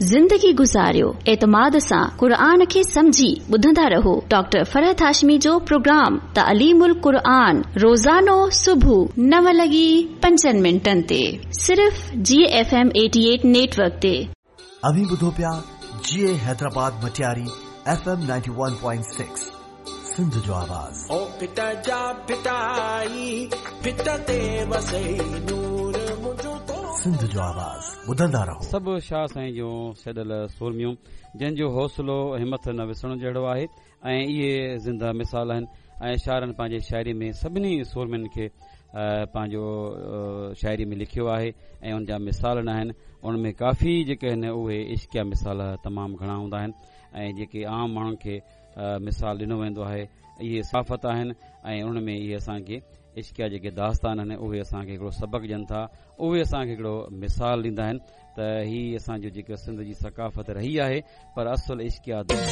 زندگي گذاريو اعتماد سان قرآن کي سمجهي ٻڌندا رهو ڊاڪٽر فرحت هاشمي جو پروگرام تعليم القرآن روزانو صبح نو لڳي پنجن منٽن تي صرف جي ايف ايم 88 نيٽ ورڪ تي. اوهين ٻڌو پيا جيئي حيدرآباد مٽياري ايف ايم 91.6 سنڌ جو آواز. او ڦٽ جا ڦٽائي ڦٽ تي وسي نور منهنجو تو سنڌ جو آواز ٻڌندا رهو. سڀ شاهه سائين جون سڏيل سورميون جن جو حوصلو همٿ نه وسرڻ جهڙو آهي ۽ اهي زنده مثال آهن ۽ شاعرن پنهنجي شاعري ۾ سڀني سورمين کي پنهنجو شاعري ۾ لکيو آهي ۽ ان جا مثال نه آهن ان ۾ ڪافي جيڪي آهن اهي عشقيه مثال تمام گهڻا هوندا آهن ۽ جيڪي عام ماڻهن کي مثال ڏنو ويندو آهي اهي ثقافت آهن ۽ ان ۾ اهي اسان کي عشقيه جيڪي داستان آهن اهي اسان کي هڪڙو سبق ڏين ٿا اهي اسان کي هڪڙو مثال ڏيندا آهن ته هي اسان جو جيڪا سنڌ جي ثقافت رهي آهي پر اصل عشقيه.